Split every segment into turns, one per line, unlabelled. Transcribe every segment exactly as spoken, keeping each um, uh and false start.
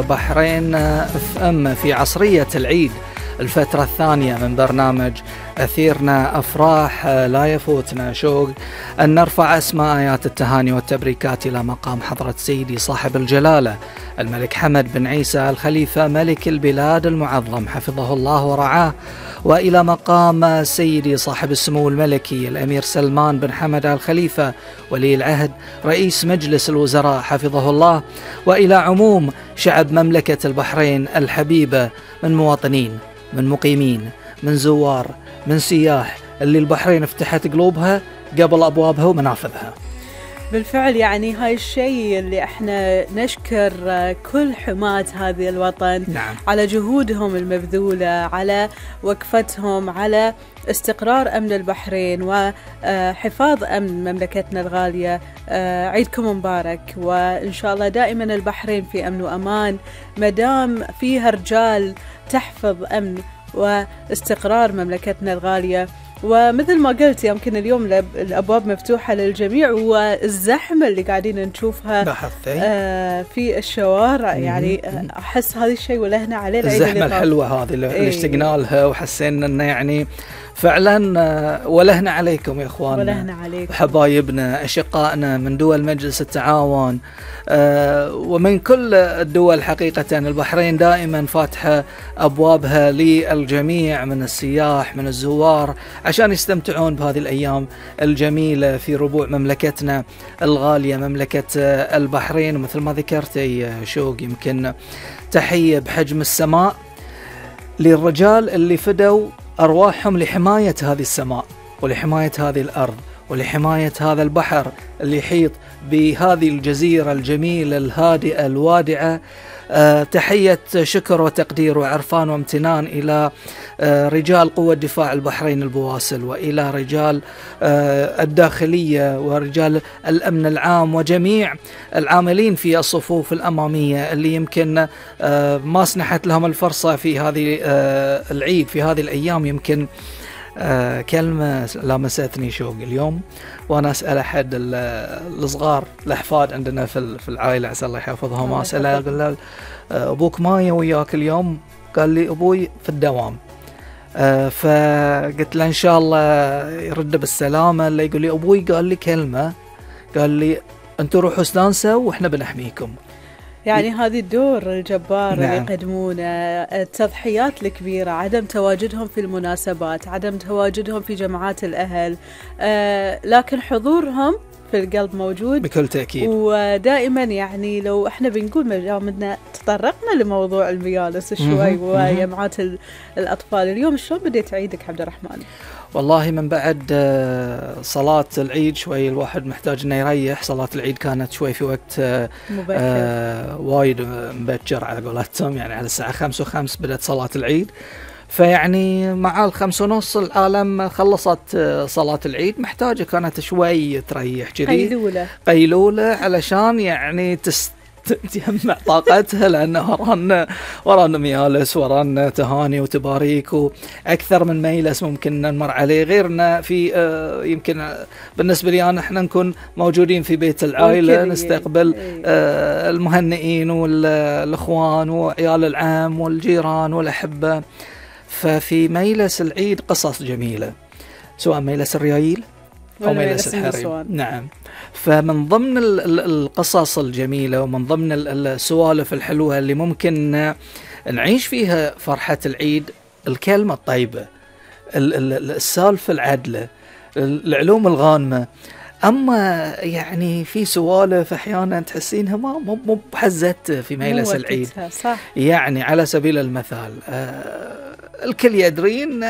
بحرين اف ام في عصرية العيد الفترة الثانية من برنامج أثيرنا أفراح. لا يفوتنا شوق أن نرفع أسماء آيات التهاني والتبريكات إلى مقام حضرة سيدي صاحب الجلالة الملك حمد بن عيسى الخليفة ملك البلاد المعظم حفظه الله ورعاه، وإلى مقام سيدي صاحب السمو الملكي الأمير سلمان بن حمد الخليفة ولي العهد رئيس مجلس الوزراء حفظه الله، وإلى عموم شعب مملكة البحرين الحبيبة من مواطنين، من مقيمين، من زوار، من سياح، اللي البحرين فتحت قلوبها قبل أبوابها ومنافذها.
بالفعل يعني هاي الشيء اللي احنا نشكر كل حماة هذه الوطن.
نعم. على
جهودهم المبذولة، على وقفتهم على استقرار أمن البحرين وحفاظ أمن مملكتنا الغالية. عيدكم مبارك، وإن شاء الله دائما البحرين في أمن وأمان مدام فيها رجال تحفظ أمن واستقرار مملكتنا الغالية. ومثل ما قلت يمكن اليوم الأبواب مفتوحة للجميع، والزحمة اللي قاعدين نشوفها آه في الشوارع يعني أحس هذا الشيء ولهنا عليه
الزحمة الحلوة هذه اللي اشتقنا لها وحسينا أنه يعني فعلا ولهنا عليكم يا إخواننا،
ولهنا عليكم
حبايبنا أشقائنا من دول مجلس التعاون أه ومن كل الدول. حقيقة البحرين دائما فاتحة أبوابها للجميع من السياح من الزوار عشان يستمتعون بهذه الأيام الجميلة في ربوع مملكتنا الغالية مملكة البحرين. ومثل ما ذكرتي شوق يمكن تحية بحجم السماء للرجال اللي فدوا أرواحهم لحماية هذه السماء ولحماية هذه الأرض ولحماية هذا البحر اللي يحيط بهذه الجزيرة الجميلة الهادئة الوادعة. أه تحية شكر وتقدير وعرفان وامتنان إلى أه رجال قوة دفاع البحرين البواسل، وإلى رجال أه الداخلية ورجال الأمن العام وجميع العاملين في الصفوف الأمامية اللي يمكن أه ما سنحت لهم الفرصة في هذه أه العيد في هذه الأيام. يمكن آه كلمة لامستني شوق اليوم وأنا أسأل أحد الصغار الأحفاد عندنا في في العائلة عسى الله يحفظهم، أسأله أقول له أبوك ما وياك اليوم؟ قال لي أبوي في الدوام. آه فقلت له إن شاء الله يرد بالسلامة. اللي يقول لي أبوي قال لي كلمة، قال لي أنتوا روحوا استانسوا وإحنا بنحميكم.
يعني هذه الدور الجبار. نعم. اللي يقدمونه، التضحيات الكبيرة، عدم تواجدهم في المناسبات، عدم تواجدهم في جماعات الأهل، آه لكن حضورهم في القلب موجود
بكل تأكيد.
ودائما يعني لو احنا بنقول مجامدنا تطرقنا لموضوع الميالس شوي وجمعات الأطفال، اليوم شلون بديت عيدك عبد الرحمن؟
والله من بعد صلاة العيد شوي الواحد محتاج انه يريح. صلاة العيد كانت شوي في وقت آه وايد مبكر على قولتهم، يعني على الساعة خمسة وخمس بدأت صلاة العيد، فيعني مع الخمس ونص العالم خلصت صلاة العيد، محتاجة كانت شوي تريح جدي
قيلولة
قيلولة علشان يعني تست تجمع طاقتها، لأنه ورانا ورانا ميالس ورانا تهاني وتباريك وأكثر من ميلس ممكن نمر عليه، غيرنا في آه يمكن بالنسبة لي أنا إحنا نكون موجودين في بيت العائلة نستقبل آه المهنئين والأخوان وعيال العام والجيران والأحبة. ففي ميلس العيد قصص جميلة، سواء ميلس الريايل أو ميلس الحريم. نعم. فمن ضمن القصص الجميلة ومن ضمن السوالف الحلوة اللي ممكن نعيش فيها فرحة العيد الكلمة الطيبة، السالفة العدلة، العلوم الغانمة. أما يعني في سوالف أحيانا تحسينها ما مو بحزت في ميلس العيد.
صح.
يعني على سبيل المثال آه الكل يدرين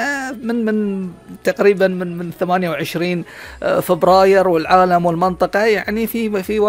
من من تقريبا من من ثمانية وعشرين فبراير والعالم والمنطقة يعني في في